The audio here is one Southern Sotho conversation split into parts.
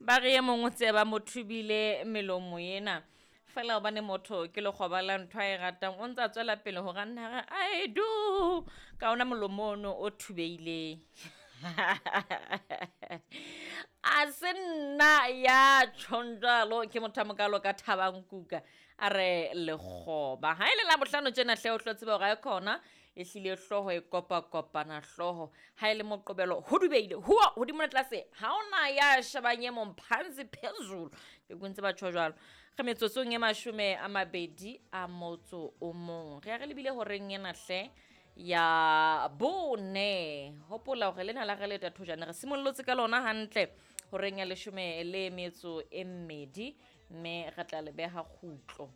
Ba re e mong o tseba mo thubile melomo ena. Fela hobane motho ke lekgoba la ntho a e ratang, o ntse a tswela pele hore a nna a re I do ka ona molomo ono o thubehileng. A se nna ya tjhong jwalo, ke motho a mokalo ka Thabang Kuka a re lekgoba. Ha e le Labohlano tjena hle o tlo tseba hore ae khona ehlile hlooho e kopa-kopana hlooho. Ha e le Moqebelo ho dubeile, huwa hodimo le tlase, ha ona ya shebang e mong phansi phezulu. Ke ntse ba tjho jwalo. Re metsotsong e 21. Re ya re lebile horeng ena hle ya bone. Hopola hore lena la re leta thojane re simollotse ka lona hantle horeng ya 12, mme re tla le beha kgutlo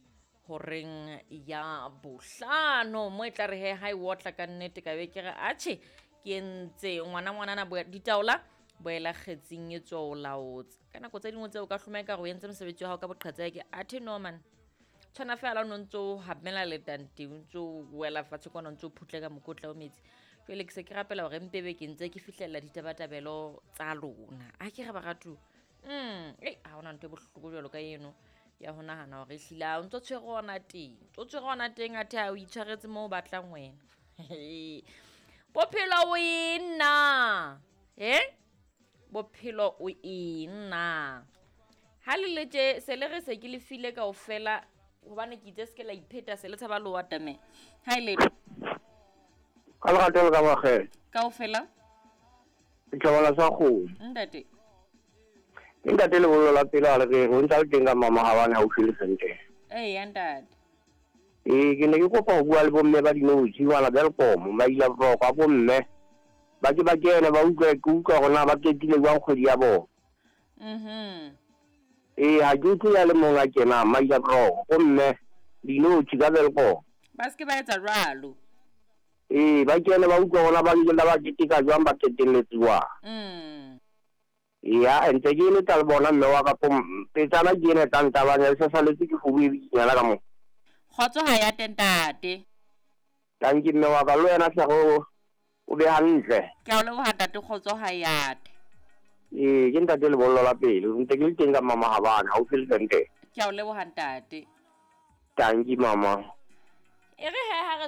horeng ya bohlano. Mo e tla re he ha e otla ka nnete ka be ke re atjhe ke entse ngwana ngwanana ditaola boela kgetsing e tswa o laotse. Ka nako tse dingwe tseo o ka hloma ekare o entse mosebetsi wa hao ka boqhetseke, athe no man. Tshwana fela o no ntso o hamela letante, o ntso o wela fatshe kwana, o ntso o phutle ka mokotla o metsi. Jwale ke se ke rapela hore mpe be ke ntse ke fihlella ditabatabelo tsa lona. A ke re baratuwa. Ei, ha hona ntho e bohloko jwalo ka eno ya ho nahana hore ehlile ha o ntso tshwere hona teng. O tshwere hona teng athe ha o itshwaretse moo o batlang wena. Bophelo o eng na? Bophelo o eng na? Ha le le tje, se le re se ke le file kaofela hobane ke itse se ke la ipheta se le tshaba le atamela. Ha e letho. Ka lerato le ka makgele. Kaofela? Setjhabana sa kgomo. Ntate. Ke ntate lebollo la pele a le re o ntse a le teng ka Mama haufi le Sentene. Eya ntate. Ee, ke ne ke kopa ho bua le bomme ba dinotshi bana Welkom, Maila Broko a bomme. Ba ke ba kene ba utlwe ke utlwa hore na ba qetile jwang kgwedi ya bona. Ee, ha ke utlwe ya le mong a kenang Maila Broko, bomme dinotshi ka Welkom. Ba se ke ba etsa jwalo. Ee, ba kene ba utlwa hore na ba ile ba keteka jwang, ba qetelletse jwang. Ya, ntse ke eletsa le bona mme wa ka petsana ke ena e tla ntabanya, e sa saletse ke kgomo e bikinyana ka moo. Kgotso ha ya teng ntate. Tanki mme wa ka, le wena hle o be hantle. Ke a o leboha ntate, kgotso ha ya te. Ee, ke ntate lebollo la pele, ntse ke le teng ka Mama Habane, haufi le Sentene. Ke a o leboha ntate. Tanki mama. E re he ha re